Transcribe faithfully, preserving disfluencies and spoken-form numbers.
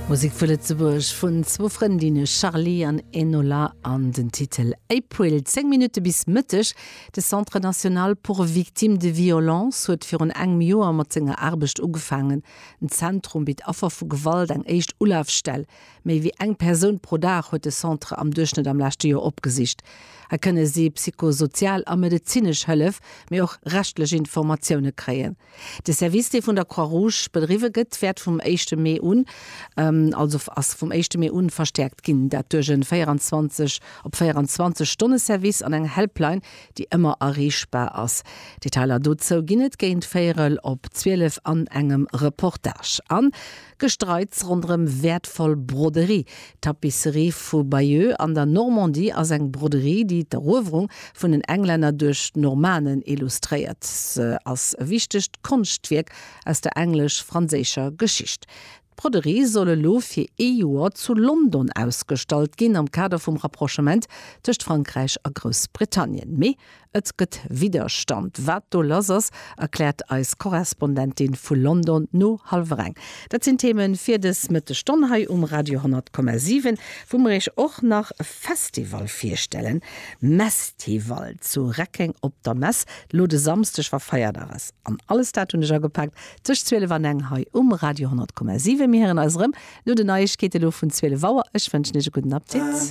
Musek vu Lëtzebuerg vun zwou Frëndinne Charlie an Enola an den Titel April. Zéng Minutte bis Mëtteg. De Centre national pour victimes de violences huet virun engem Joer mat senger Aarbecht ugefaangen. Den Zentrum bitt Affer vu Gewalt eng éischt Ulafstell. Méi wéi eng Persoun pro Dag huet de Centre am Duerchschnëtt am leschte Joer opgesicht. Hei kënne si psychosozial a medezinesch Hëllef, mee och rechtlech Informatioune kréien. De Service, dee vun der Croix-Rouge bedriwwe gëtt, wäert vum éischte Mee un, also ass vum éischte Mee un verstäerkt ginn, dat duerch e véieranzwanzeg op véieranzwanzeg Stonne Service an eng Helpline, déi ëmmer erreechbar ass. Detailer dozou ginn et géint véierel op zwielef an engem Reportage. An Gestreits ronderëm wäertvoll Broderie. D'Tapisserie vu Bayeux an der Normandie ass eng Broderie, déi d'Eruewerung vun den Englänner duerch d'Normanen illustréiert. Se ass e wichtegt Konschtwierk aus der englesch-franséischer Geschicht. D'Broderie soll elo fir ee Joer zu London ausgestallt ginn, am Kader vum Rapprochement tëscht Frankräich a Groussbritannien. Mee et gëtt Widderstand. Wat do lass ass, erkläert eis Korrespondentin vu London no hallwer eng. Dat sinn Themen fir dës Mëttesstonn hei um Radio honnert Komma siwen, wou mer iech och nach e Festival virstellen, Messtival zu Reckeng op der Mess, lo de Samsdeg, wa Feierdag ass. An alles dat hunn ech agepakt tëscht zwielef an eng hei um Radio honnert Komma siwen. Mir héieren eis erëm no den Neiegkeete lo vun zwielef Auer. Ech wënschen iech e gudden Appetit.